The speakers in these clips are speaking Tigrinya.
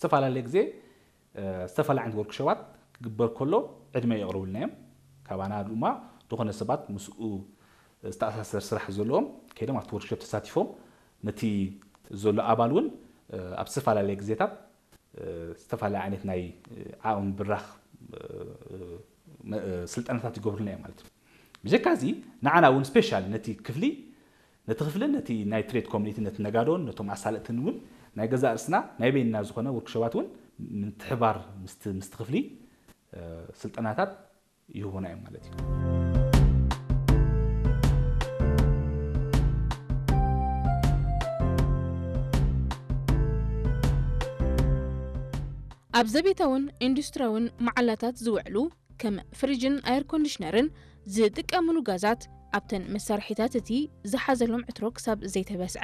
ዝተፈላለየ ግዜ ዝተፈላለየ ዓይነት ወርክሾባት ክግበር ከሎ ዕድመ የቕርቡልና እዮም። ካባና ድማ ዝኾነ ሰባት ምስኡ ዝተኣሳሰር ስራሕ ዘለዎም ከይዶም ኣብቲ ወርክሾፕ ተሳቲፎም ነቲ ዘሎ ኣባል እውን ኣብ ዝተፈላለየ ግዜታት ዝተፈላለየ ዓይነት ናይ ዓቕሚ ብራኽ ስልጠናታት ይገብሩልና እዮም ማለት እዩ። ብጀካ እዚ ንዓና እውን ስፔሻል ነቲ ክፍሊ ነቲ ክፍልን ነቲ ናይ ትሬድ ኮሚኒቲ ነቲ ነጋዶን ነቶም ኣሳለጥትን እውን ናይ ገዛእ ርእስና ናይ በይንና ዝኾነ ወርክሾባት እውን ምትሕባር ምስቲ ክፍሊ ስልጠናታት ይህቡና እዮም ማለት እዩ። ኣብ ዘቤታውን ኢንዱስትሪያውን መዓላታት ዝውዕሉ ከም ፍሪጅን ኣየር ኮንዲሽነርን ዝጥቀምሉ ጋዛት ኣብተን መሳርሒታት እቲ ዝሓዘሎም ዕትሮ ክሳብ ዘይተበስዐ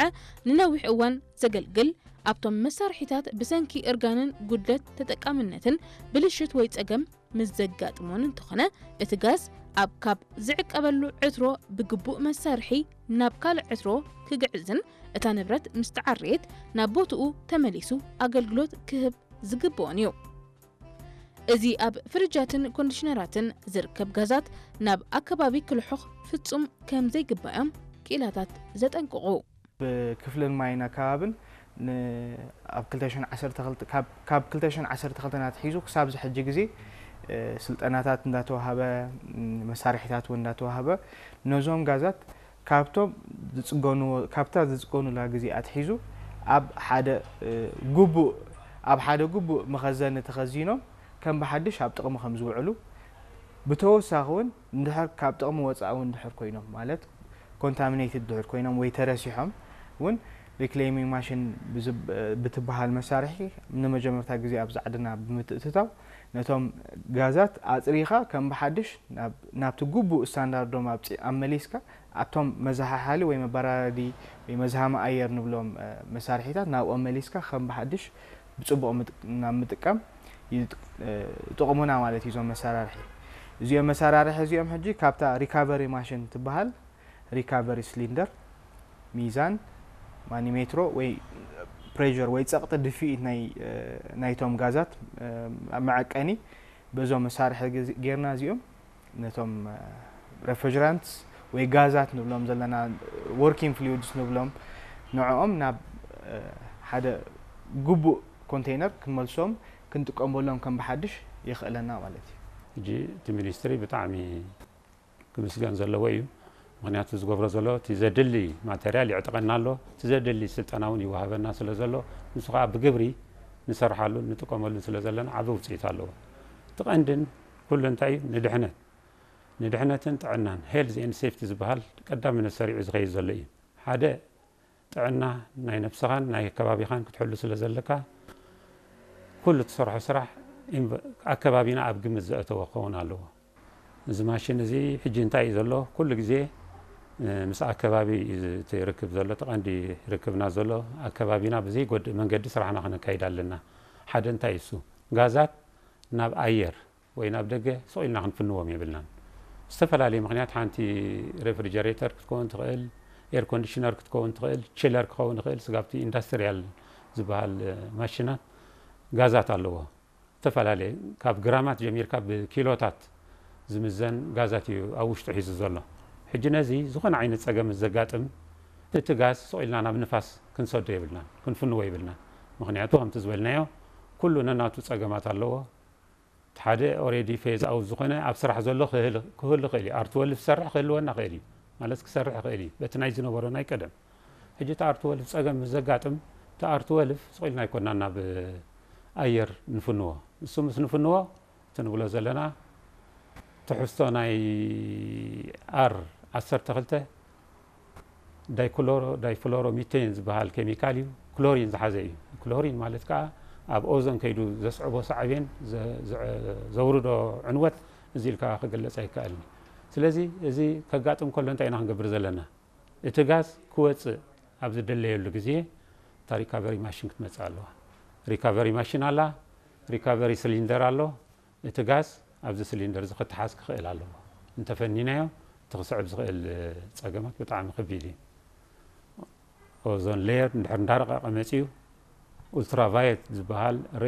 ንነዊሕ እዋን ዘገልግል ኣብቶም መሳርሒታት ብሰንኪ እርጋንን ጉድለት ተጠቃምነትን ብልሽት ወይ ጸገም ምስ ዘጋጥሞን እንተኾነ እቲ ጋዝ ኣብ ካብ ዝዕቀበሉ ዕትሮ ብግቡእ መሳርሒ ናብ ካልእ ዕትሮ ክግዕዝን እታ ንብረት ምስ ተዓረየት ናብ ቦትኡ ተመሊሱ ኣገልግሎት ክህብ ዝግብኦን እዩ። እዚ ኣብ ፍርጃትን ኮንዲሽነራትን ዝርከብ ጋዛት ናብ ኣከባቢ ክልሑኽ ፍጹም ከም ዘይግባዮም ክኢላታት ዘጠንቅቑ። ብክፍልን ማይን ኣከባብን ኣብ ካብ ክልተ ሽሕን ዓሰርተ ክልተን ኣትሒዙ ክሳብ ዝሕጂ ግዜ ስልጠናታት እንዳተዋሃበ መሳርሒታት እውን እንዳተዋሃበ ነዞም ጋዛት ካብቶም ዝፅገንዎ ካብታ ዝፅገኑላ ግዜ ኣትሒዙ ኣብ ሓደ ግቡእ ኣብ ሓደ ግቡእ መኸዘኒ ተኸዚኖም ከም ብሓድሽ ኣብ ጥቕሚ ከም ዝውዕሉ ብተወሳኺ እውን እንድሕር ካብ ጥቕሚ ወፃኢ እውን እንድሕር ኮይኖም ማለት ኮንታሚኔትድ ድሕር ኮይኖም ወይ ተረሲሖም እውን ሪክሌሚንግ ማሽን ብትበሃል መሳርሒ ንመጀመርታ ግዜ ኣብ ዛዕድና ብምትእትታው ነቶም ጋዛት ኣፅሪኻ ከም ብሓድሽ ናብቲ ግቡእ ስታንዳርዶም ኣብመሊስካ ኣብቶም መዘሓሓሊ ወይ መበራረዲ ወይ መዝሃሚ ኣየር ንብሎም መሳርሒታት ናብኦም መሊስካ ከም ብሓድሽ ብፅቡቕ ናብ ምጥቃም ይጥቕሙና ማለት እዩ እዞም መሰራርሒ። እዚኦም መሰራርሒ እዚኦም ሕጂ ካብታ ሪካቨሪ ማሽን ትበሃል ሪካቨሪ ስሊንደር፣ ሚዛን፣ ማኒሜትሮ ወይ ፕሬር ወይ ፀቕጢ ድፍኢት ናይቶም ጋዛት መዐቀኒ በዞም መሳርሒ ጌርና እዚኦም ነቶም refrigerants ወይ ጋዛት ንብሎም ዘለና working fluids ንብሎም ንዕኦም ናብ ሓደ ግቡእ ኮንቴይነር ክንመልሶም ክንጥቀመሎም ከም ብሓድሽ የኽእለና ማለት እዩ። ሕጂ እቲ ሚኒስትሪ ብጣዕሚ ክምስገን ዘለዎ እዩ። ምክንያቱ ዝገብሮ ዘሎ እቲ ዘድሊ ማተርያል ይዕጥቐና ኣሎ፣ እቲ ዘድሊ ስልጠና እውን ይወሃበና ስለ ዘሎ ንሱ ከዓ ብግብሪ ንሰርሓሉን ንጥቀመሉን ስለ ዘለና ዓቢ ውፅኢት ኣለዎ። እቲ ቀንድን ኩሉ እንታይ እዩ ንድሕነት ንድሕነትን ጥዕናን health and safety ዝበሃል ቀዳምነት ሰሪዑ ዝኸይድ ዘሎ እዩ። ሓደ ጥዕና ናይ ነብስኻን ናይ ከባቢኻን ክትሕሉ ስለ ዘለካ ኩሉ ትሰርሖ ስራሕ ኣከባቢና ኣብ ግምት ዘእተወ ክኸውን ኣለዎ። እዚ ማሽን እዚ ሕጂ እንታይ እዩ ዘሎ? ኩሉ ግዜ ምስ ኣከባቢ እዩ እቲ ርክብ ዘሎ፣ እቲ ቀንዲ ርክብና ዘሎ ኣከባቢና ብዘይጎድእ መንገዲ ስራሕና ክነካይድ ኣለና። ሓደ እንታይ እሱ ጋዛት ናብ ኣየር ወይ ናብ ደገ ስቕ ኢልና ክንፍንዎም የብልናን። ዝተፈላለየ ምኽንያት ሓንቲ ሬፍሪጀሬተር ክትከውን ትኽእል፣ ኤር ኮንዲሽነር ክትከውን ትኽእል፣ ችለር ክኸውን ይኽእል፣ ስጋብቲ ኢንዳስትሪያል ዝበሃል ማሽናት ጋዛት ኣለዎ። ዝተፈላለየ ካብ ግራማት ጀሚርካ ብኪሎታት ዝምዘን ጋዛት እዩ ኣብ ውሽጡ ሒዙ ዘሎ። ሕጂ ነዚ ዝኾነ ዓይነት ጸገም ዘጋጥም እቲ ጋዝ ስቕ ኢልና ናብ ንፋስ ክንሰዶ የብልናን፣ ክንፍንዎ የብልናን። ምኽንያቱ ከምቲ ዝበልናዮ ኩሉ ነናቱ ጸገማት ኣለዎ። እቲ ሓደ ኦሬዲ ፌዝ ኣውት ዝኾነ ኣብ ስራሕ ዘሎ ክህሉ ክእል እዩ። ኣር ትወልቭ ዝሰርሕ ክህልወና ክእል እዩ ማለት ክሰርሕ ክእል እዩ በቲ ናይ ዝነበሮ ናይ ቀደም። ሕጂ እቲ ኣር ትወልቭ ጸገም ምስ ዘጋጥም እቲ ኣር ትወልቭ ስቕ ኢልና ኣይኮናን ናብ ኣየር ንፍንዎ። ንሱ ምስ ንፍንዎ እቲ ንብሎ ዘለና ትሕዝቶ ናይ ኣር ዓሰርተ ክልተ ዳይክሎሮ ዳይፍሎሮ ሚቴን ዝበሃል ኬሚካል እዩ። ክሎሪን ዝሓዘ እዩ። ክሎሪን ማለት ከዓ ኣብ ኦዞን ከይዱ ዘስዕቦ ሳዕቤን ዘውርዶ ዕንወት እዚ ኢልካ ክግለፅ ኣይከኣልን። ስለዚ እዚ ከጋጥም ከሎ እንታይ ኢና ክንገብር ዘለና? እቲ ጋዝ ክወፅእ ኣብ ዝደለየሉ ግዜ እታ ሪካቨሪ ማሽን ክትመፅእ ኣለዋ። ሪካቨሪ ማሽን ኣላ፣ ሪካቨሪ ስሊንደር ኣሎ። እቲ ጋዝ ኣብዚ ስሊንደር እዚ ክተሓዝ ክኽእል ኣለዎ። እንተፈኒናዮ እቲ ክስዕብ ዝኽእል ፀገማት ብጣዕሚ ከቢድ እዩ። ኦዞን ሌየር እንድሕር እንዳረቐቐ መፂኡ ኡልትራቫየት ዝበሃል ሬ